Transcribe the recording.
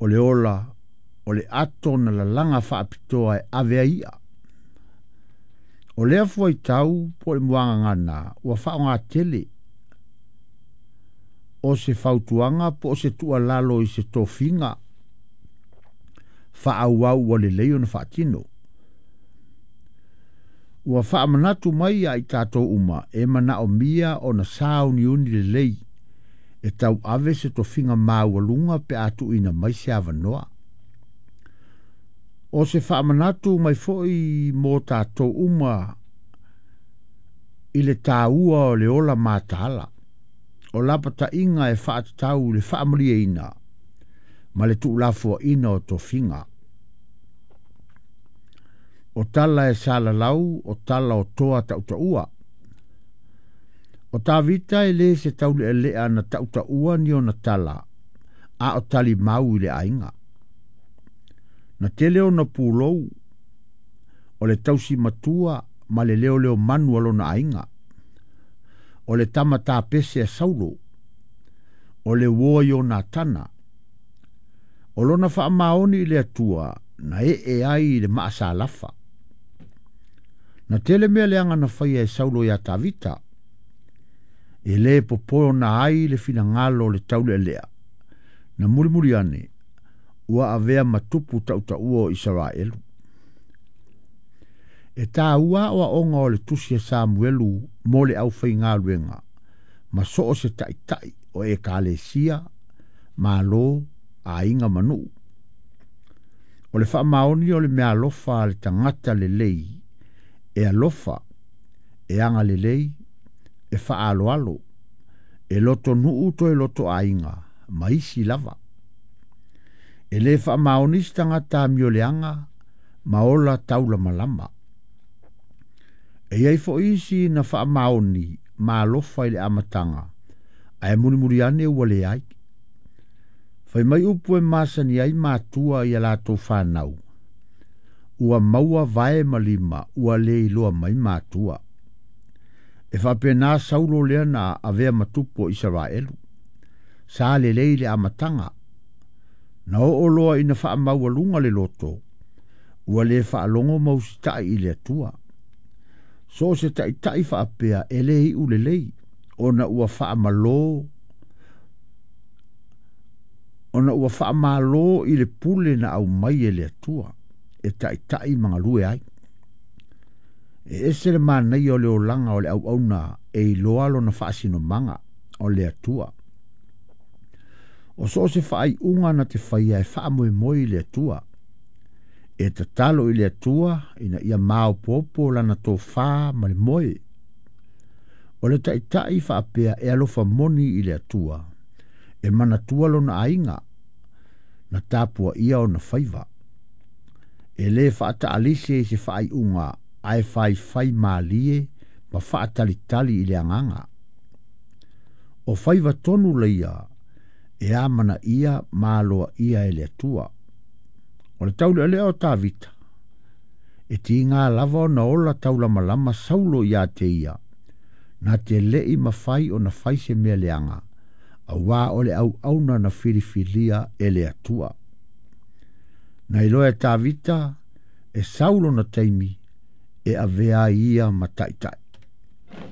O le ola o le ato na lalaga faapitoa e ave ai i'a. O lea fuaitau po o le muagagana ua faaaoga tele o se fautuaga po o se tuualalo i se tofiga faaauau ua lelei ona faatino. Ua faamanatu mai ia i tatou uma e manaomia ona sauniuni lelei e tauave se tofiga maualuga pe a tuuina mai se avanoa. O se faamanatu mai foi mo tatou uma i le taua o le ola mataala. O lapataiga e faatatau i le faamalieina ma le tuulafoaina o tofiga. O tala e salalau, o tala o toa tautaua. O Tavita e lē se taulealea na tautaua ni ona tala, a o talimau i le aiga. Na tele ona pulou, o le tausi matua ma le leoleo manu a lona aiga. O le tama tapese a Saulo, o le uo a Ionatana. O lona faamaoni i le Atua na ee ai i le maasalafa. Na tele mea leaga na faia e Saulo iā Tavita, e lē popona ai le finagalo o le taulealea. Na mulimuli ane, ua avea ma tupu tautaua o Isaraelu. E taua aoaoga o le tusi a Samuelu mo le aufaigaluega ma so o se taitai o ekalesia, malo, aiga ma nuu. O le faamaoni o le meaalofa a le tagata lelei e alofa, e agalelei, e faaaloalo, e lotonuu toe lotoaiga ma isi lava. E lē faamaoni se tagata amioleaga ma ola taulamalama. E i ai foi isi na faamaoni ma alofa i le amataga, ae mulimuli ane ua leai. Fai mai upu e masani ai matua i a latou fanau, ua maua vae ma lima ua le iloa mai matua. E faapena Saulo lea na avea ma tupu o Isaraelu. Sa lelei le amataga. Na oo loa ina faamaualuga le loto, ua le faalogo ma usitai i le Atua. So o se taitai faapea e lē iu lelei, ona ua faamalō ona ua faamalo i le pule na aumai e le Atua e taitai ma galue ai. E ese le manaia o le olaga o le auauna e iloa lona faasinomaga o le Atua. O so o se faaiuga na te faia e faamoemoe i le Atua. E tatalo i le Atua ina ia maopoopo lana tofā ma le moe. O le taitai faapea e alofa moni i le Atua, e manatua lona aiga, na tapuaia ona faiva. E lē faataalise i se faaiuga ae faifai malie ma faatalitali i le agaga. O faiva tonu laia e amanaia ma aloaia e le Atua. O le taulealea o Tavita, e tiga lava ona ola taulamalama Saulo ia te ia, na te le'i mafai ona fai se mea leaga, auā o le auauna na filifilia e le Atua. Na iloa e Tavita e sau lona taimi e avea ai ia ma taitai.